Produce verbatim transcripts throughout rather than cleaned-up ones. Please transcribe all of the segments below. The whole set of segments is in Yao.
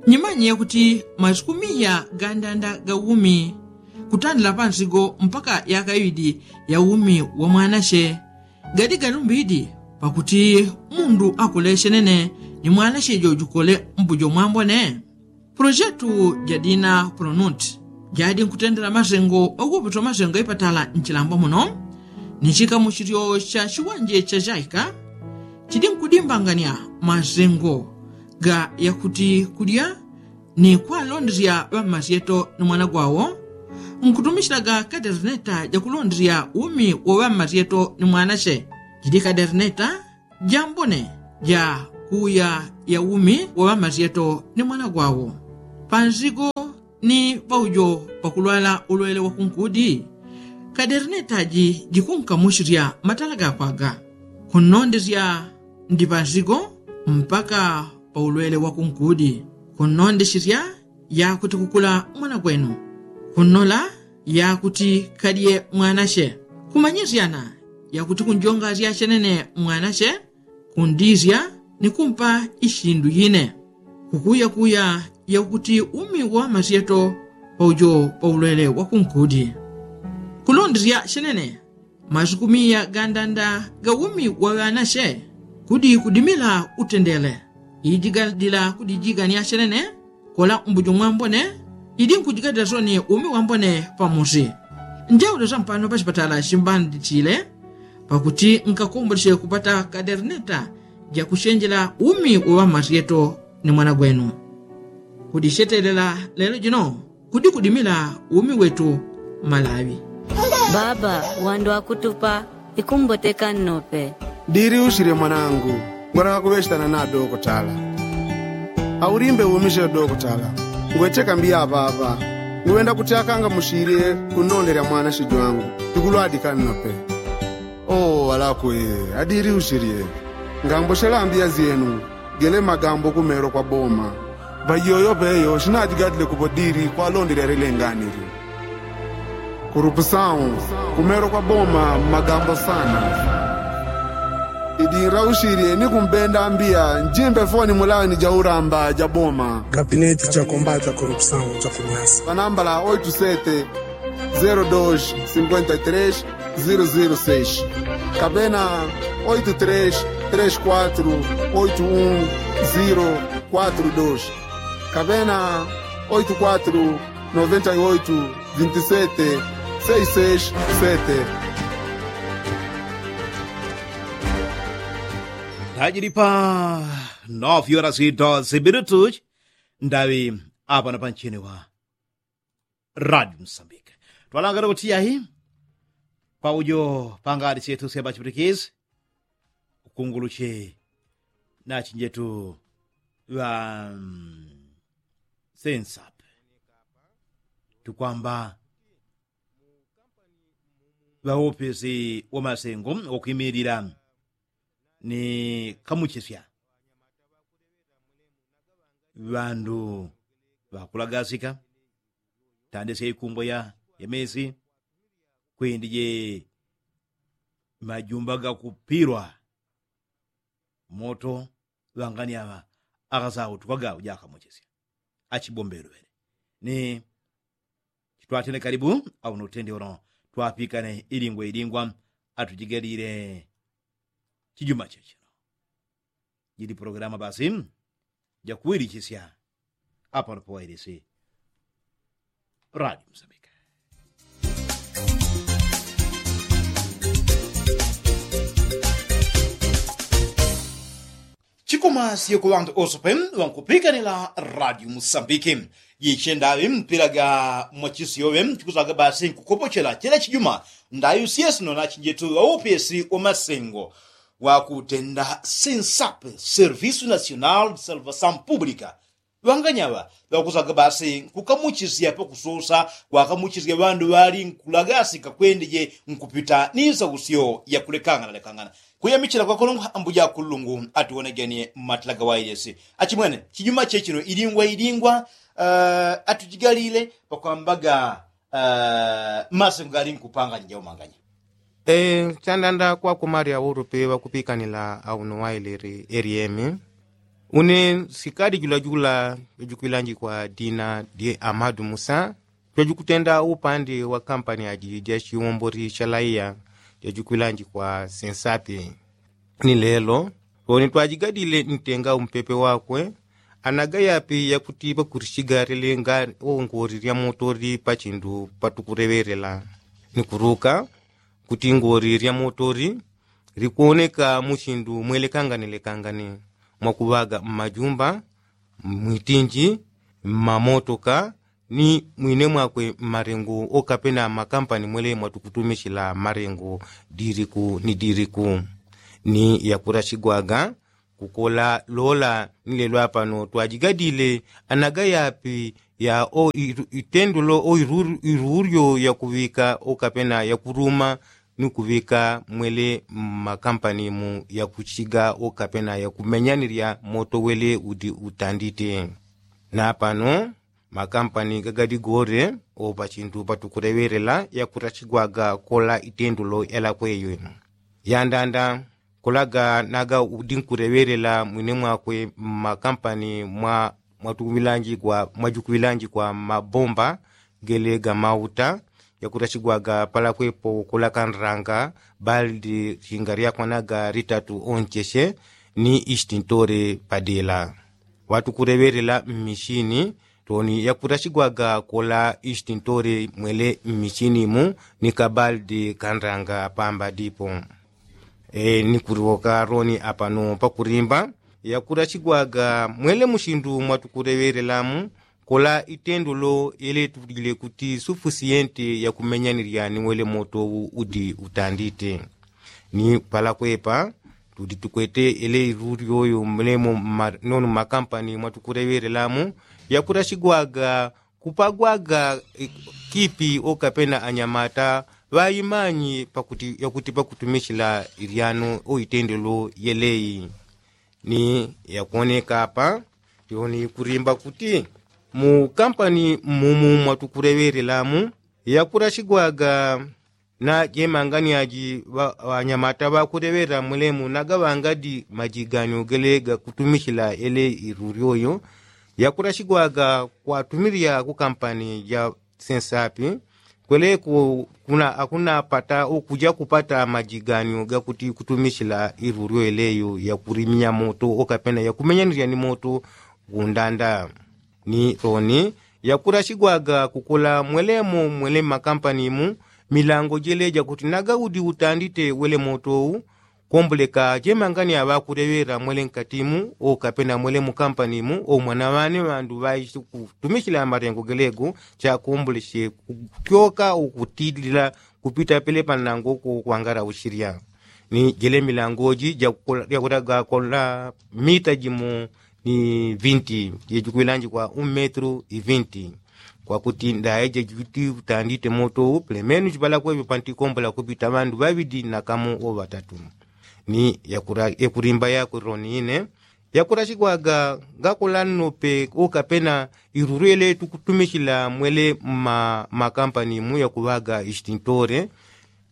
Nyimanye yakuti masiku miya gandanda ga umi kutandila pansigo mpaka yaka iwidi ya umi wa mwanache gadi galumbidi pakuti mundu akule chenene ni mwanache jojukole mbujo mwambone. Pulojetu jadina pulonunti jadi nkutendela masengo oguputo masengo ipatala nchilambwa muno ni chikamuchilyo cha chiwanje cha chaika chidi nkudimbangania masengo ga yakuti kulya ni kwalondesya ŵammasyeto ni mwana gwawo nkutumisyilaga kaderneta jakulondesya umi wa ŵammasyeto ni mwanache. Jidi kaderneta jambone ja kuuya ya umi wa ŵammasyeto ni mwana gwawo pansigo ni paujo pakulwala ulwele wa kunkudi. Kaderneta ji jikunkamuchisya matala gakwaga kunnondesya ndi pansigo mpaka pa ulwele wa kunkudi kunnondesya yakuti kukula mwana gwenu kunnola yakuti kadye mwanache kumanyisyana yakuti kunjongasya chenene mwanache kundisya ni kumpa ishindu yine kukuyakuya yakuti umi wa ŵammasyeto paujo pa ulwele wa kunkudi. Kulondesya chenene masiku miya gandanda ga umi wa ŵanache kudi kudimila utendele iji gadila kudijigania chenene kola mbujo mwambone idi nkujigadila soni umi wambone pamusi. Njaule sampano pachipatala chimbanditile pakuti nkakomboleche kupata kaderneta jakuchenjela umi wa ŵammasyeto ni mwana gwenu. Kudichetelela lelo jino kudi kudimila umi wetu malawi. Baba wandu akutupa ikumboteka nnope. Diri usile mwanangu ngwalaka kuŵechitana na dokotala. Aulimbe umisile dokotala ngweteka mbiya apapa. Nguŵenda kuti akangamuchilye kunnondela mwanache jwangu ikulwadika nnope. Oo alakwe. Adiri uchilye ngambochela mbiya zyenu. Gele magambo kumelo kwa boma. Ŵaiyoyo ŵeyo chinajigadile kupo diri kwalondela lilenganilyo. Kurupusawu kumelo kwa boma magambo sana. Idinlauchilye ni kumbenda mbiya njimbe foni mulani jaulamba ja boma. Gabineti ja kombata kurupusawu ja kunyasa panambala oitu sete zero dos sinkwenta i tres zero zero seis kapena oitu tres tres kwatru oitu un zero kwatru dos kapena oitu kwatru noventa i oitu vinti sete seis seis sete. Ndajili pa novi horas i doze minutus. Ndaŵi apano panchini wa radio msambike twalangana kuti yahi. Paujo pangadi syetu syabachiputikizi ukunguluche nachinjetu ŵa sensape tukwamba ŵaopesi wamasengo wakwimilila ni kamuchesya ŵandu ŵakulagasika tandesya ikumbwa ya mesi kwindi je majumba gakupilwa moto ŵangani aŵa akasautuka gau jakamuchesya achibombelwele ni chitwatene kalibu. Auno utende uno twapikane ilingwa ilingwa atujigalile chijuma chechino. Jili pulogalamu basi jakuwilichisya apano pawailisi radio msambike. Chikumasye ku ŵantu ose pe ŵankupikanila radio msambike. Jiche ndaŵi mpila ga mwachisyoŵe chikusaga basi nkukopochela chela chijuma ndaŵi usyesino nachinjetu ŵaupesi wamasengo wakutenda sensape servisu nasional de salvasaun publika. Ŵanganyaŵa ŵakusaga basi nkukamuchisya pakusosa kwakamuchisya ŵandu ŵali nkulagasika kwendeje nkupita ni nsausyo yakulekangana lekangana. Kuyamichila kwakolongwa ambuja kulungu atuwonegenie mmatila gawailesi. Achimwene chijuma chechino ilingwa ilingwa atujigalile pakwambaga masengo gali nkupanganya jaumanganya. Chandanda kwakumalya ulupi ŵakupikanila auno wailili eliemi. Une sikadi julajula jajukwilanjikwa dina dye amadu musa jajukutenda upande wa kampani aji jachiwombori chalaiya jajukwilanjikwa sensapi. Ni lelo loni twajigadile ntenga umpepe wakwe anagayapi yakuti pakurichigalile nga ongori lya motori pachindu patukuleŵelela. Ni kuruka kuti ngori lya motori likwoneka mu chindu mwelekangane lekangane mwakuŵaga mmajumba, mwitinji, mmamotoka, ni mwine mwakwe mmalengo okapena mmakampani mwele mwatukutumichila malengo diliku ni diliku. Ni yakurachigwaga kukola lola ni lelo apano twajigadile anagayapi ya o itendo lo o iruryo yakuŵika okapena yakuruma ni kuŵika mwele mmakampani mu yakuchiga okapena yakumenyanilya moto wele udi utandite. Na pano makampani gagadigore o pachintu patukuleŵelela yakurachigwaga kola itendo lo yalakweyo ino yandanda kolaga naga udi nkuleŵelela mwine mwakwe mmakampani mwa mwatukuŵilanjigwa mwajukuŵilanjigwa mmabomba gele gamauta yakurachigwaga palakwepo kolakanranga baldi chinga lyakwanaga litatu oncheche ni istintore padela. Watukuleŵelela mmichini toni yakurachigwaga kola istintore mwele mmichini mu ni kabaldi kanranga pamba dipo. E ni kuliwoka loni apano pakulimba yakurachigwaga mwele muchindu mwatukuleŵelelamu kola itendo lo yeletulile kuti sufusiyente yakumenyanilya ni wele moto udi utandite. Ni palakwepa tudi tukwete ele irulyoyo mulemo nono mmakampani mwatukuleŵelelamu yakurachigwaga kupagwaga kipi okapena anyamata ŵaimanyi pakuti yakuti pakutumichila ilyano o itendelo yeleyi. Ni yakwoneka apa yoni kulimba kuti mu kampani mmumu mwatukuleŵelelamu yakurachigwaga na jemangani aji ŵanyamata ŵakuleŵela mulemu nagaŵangadi majiganyo gele gakutumichila ele irulyoyo yakurachigwaga kwatumilya ku kampani ja sensapi kweleko kuna akunapata ukuja kupata majiganyo gakuti kutumichila irulyo eleyo yakuliminya moto okapena yakumenyanilya ni moto kundanda. Ni loni yakurachigwaga kukola mwelemo mwele mmakampani mu milango jele jakuti nagaudi utandite wele moto u komboleka jemangani aŵakuleŵela mwele nkati mu okapena mwele mukampani mu omwana ŵane ŵandu ŵaishi kutumichila malengo gelego chakomboleche kutyoka ukutilila kupita pele panango kukwangala uchilya. Ni jele milango ji jakulaga kola mita jimo ni vinti jejikuŵilanjikwa un metru i vinti. Kwakuti ndaye jejikuti utandite moto u pelemenu jipalakwepe pantikombola kupita ŵandu ŵaŵidi na kamo o ŵatatu. Ni yakulimba yakwe loni ine yakurachigwaga ngakola nnope okapena irulwele tukutumichila mwele mmakampani mu yakuŵaga istintore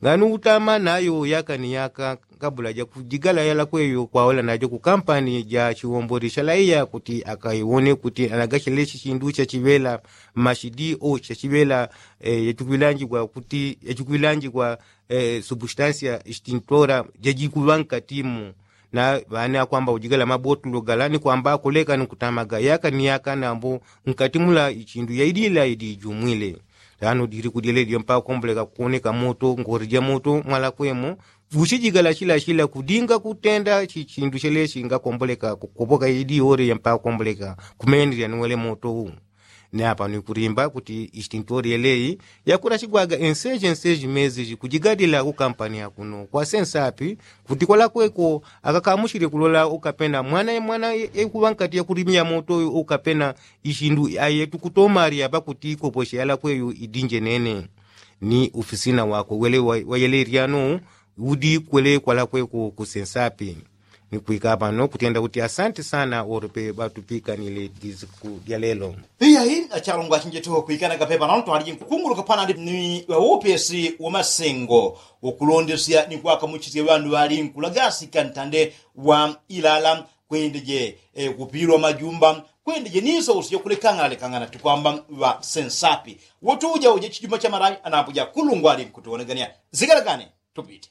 ngani utama nayo yaka ni yaka kabula jakujigala yalakweyo kwaola najo ku kampani ja chiwomboli chalaiya kuti akaiwone kuti anagachelechi chindu chachiŵela mmachidi o chachiŵela yachikuŵilanjigwa kuti yachikuŵilanjigwa substansia istintora jajikuŵa nkati mu. Na ŵane akwamba ujigala mabotulo gala ni kwamba akoleka ni kutamaga yaka ni yaka nambo nkati mula ichindu yaidila idijumwile. Tano dili kudyele dyo mpaka komboleka kukoneka moto ngori ja moto mwalakwemo. Vuchijigala chila chila kudinga kutenda chichindu chele chinga komboleka kukopoka idi ore ya mpaka komboleka kumendelya ni wele moto u. Ni apa ni kulimba kuti istintori yeleyi yakurachigwaga enseji enseji mezi jikujigadila ku kampani ya kuno kwa sensapi kuti kwalakweko akakamuchile kulola ukapena mwana mwana ekuŵa nkati yakulimya moto ukapena ishindu aye tukutomalya pakuti ikoposhe yalakweyo idinje nene. Ni ufisina wakwe wele wayele ilyano udi kwele kwalakweko ku sensapi. Ni kwika pano kutenda kuti asante sana olope ŵatupikanile disiku dya lelo. Iyayi achalongo achinjeteho kwikana kapepa nano twaliji nkukunguluka panandi ni ŵaupesi wa masengo ukulondesya ni kwakamuchisya ŵandu ŵali nkulagasika ntande wa ilala. Kwendije kupilwa majumba. Kwendije niso usije kulekangana lekangana tikwamba ŵa sensapi. Wotuja uje chijumba cha malawi anambuja kulungwali nkutuwonegania zigalagane. Tupite.